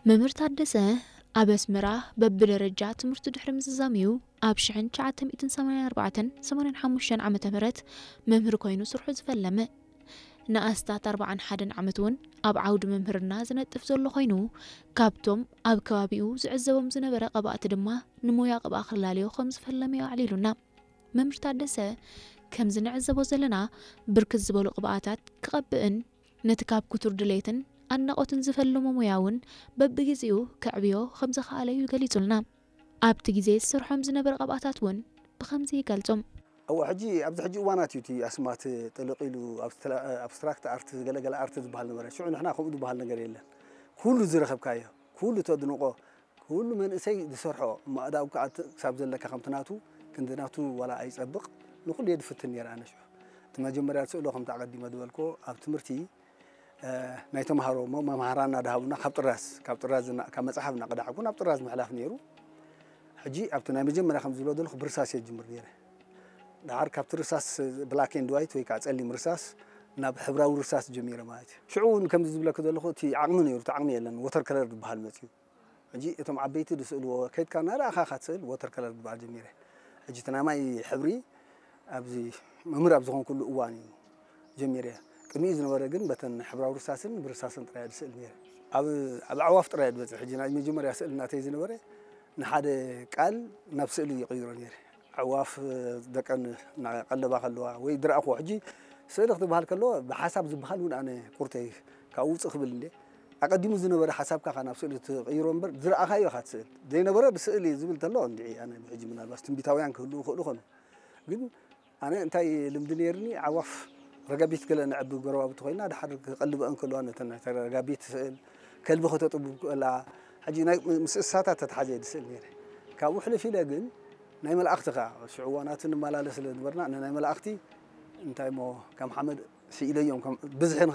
መምህር ታደሰ ኣብ ኣስመራ በብደረጃ ትምህርቱ ድሕሪ ምዝዛም'ዩ ኣብ ሽሕን ትሽዓተ ሚእትን ሰማንያን ኣርባዕተን ሰማንያን ሓሙሽተን ዓመተ ምህረት መምህር ኮይኑ ስርሑ ዝፈለመ። ንኣስታት ኣርባዓን ሓደን ዓመት እውን ኣብ ዓውዲ መምህርና ዝነጥፍ ዘሎ ኮይኑ፣ ካብቶም ኣብ ከባቢኡ ዝዕዘቦም ዝነበረ ቀባእቲ ድማ ንሞያ ቅብኣ ክላለዮ ከም ዝፈለመ'ዩ ኣዕሊሉና። መምህር ታደሰ፣ ከምዚ ንዕዘቦ ዘለና፣ ብርክት ዝበሉ ቅብኣታት ክቐብእን ነቲ ካብ ክቱር ድሌትን ኣድናቖትን ዝፈልሞ ሞያ እውን በብግዜኡ ከዕብዮ ከም ዝኸኣለ'ዩ ገሊጹልና። ኣብቲ ግዜ ዝሰርሖም ዝነበረ ቅብኣታት እውን ብኸምዚ ይገልጾም። እወ፣ ሕጂ ኣብዚ ሕጂ እዋናት እዩ እቲ ኣስማት ጥልቕ ኢሉ ኣብስትራ-፣ ኣብስትራክት ኣርት፣ ገለገለ ኣርት ዝበሃል ነበረ። ሽዑ ንሕና ከምኡ ዝበሃል ነገር የለን። ኩሉ ዝረኸብካዮ፣ ኩሉ ተድንቖ፣ ኩሉ መንእሰይ ዝሰርሖ ማእዳው ክኣ ክሳብ ዘለካ ከምቲ ናቱ ክንዲ ናቱ ዋላ ኣይጸብቕ፣ ንኹሉ እየ ዝፍትን ነይረ ኣነ ሽዑ። እቲ መጀመርያ ስእሎ ከምቲ ኣቐዲመ ዝበልክዎ ኣብ ትምህርቲ፣ እ፣ ናይ ተምሃሮ መ-፣ መምሃራና ድሃቡና ካብ ጥራዝ፣ ካብ ጥራዝ እና-፣ ካብ መጽሓፍ እናቐዳሕኩ ናብ ጥራዝ ምሕላፍ ነይሩ። ሕጂ ኣብቲ ናይ መጀመርያ ከም ዝብሎ ዘለኹ ብርሳስ እየ ዝጅምር ነይረ። ደሓር ካብቲ ርሳስ ብላክ ኤንድ ዋይት ወይ ከዓ ጸሊም ርሳስ ናብ ሕብራዊ ርሳስ ጀሚረ ማለት እዩ። ሽዑ እውን ከምዚ ዝብለኪ ዘለኹ እቲ ዓቕሚ ነይሩ፣ እቲ ዓቕሚ የለን። ወተር ከለር ዝበሃል መጽዩ። ሕጂ እቶም ዓበይቲ ዝስእልዎ ከይድካ እናረኣኻ ኢኻ ትስእል፣ ወተር ከለር ዝበሃል ጀሚረ። ሕጂ እቲ ናይ ማይ ሕብሪ ኣብዚ መምህር ኣብ ዝኾንኩሉ እዋን እዩ ጀሚረ። ቅድሚኡ ዝነበረ ግን በተን ሕብራዊ ርሳስን ብርሳስን ጥራይ እየ ዝስእል ነይረ። ኣብ፣ ኣብ ኣዕዋፍ ጥራይ እየ ዝበጽሕ። ሕጂ ናይ መጀመርያ ስእሊ ናተይ ዝነበረ ንሓደ ቃል ናብ ስእሊ ይቕይሮ ነይረ። ኣዕዋፍ ደቀን እናቐለባ ከለዋ ወይ ዝረኣኹዎ፣ ሕጂ ስእሊ ክትበሃል ከሎ ብሓሳብ ዝበሃል እውን ኣነ ቁርተይ ካብኡ ውፅእ ክብል እንደ ኣቐዲሙ ዝነበረ ሓሳብካ ኢኻ ናብ ስእሊ ትቕይሮ እምበር ዝረኣኻዮ ኢኻ ትስእል። ዘይነበረ ብስእሊ ዝብል ተሎ እንድዒ ኣነ ሕጂ ምናልባት ትንቢታውያን ክህልዉ ይኽእሉ ይኾኑ። ግን ኣነ እንታይ ልምዲ ነይርኒ፣ ኣዕዋፍ ረጋቢት ገለ ነዕቢ ጎረባብቲ ኮይና ድሓር ክቐልበአን ከለዋ ነተን ናይ ረጋቢት ስእል፣ ከልቢ ከተጥቡ ከላ፣ ሕጂ ናይ ምስ እንስሳታት ተተሓዘ እየ ዝስእል ነይረ። ካብኡ ሕልፍ ኢለ ግን ናይ መላእኽቲ ከኣ ሽዑ እዋናት ንመላለስ ስለ ዝነበርና፣ ንናይ መላእኽቲ እንታይ እሞ ከም ሓመድ ስኢለዮም፣ ከም ብዝሒ ንኽ-፣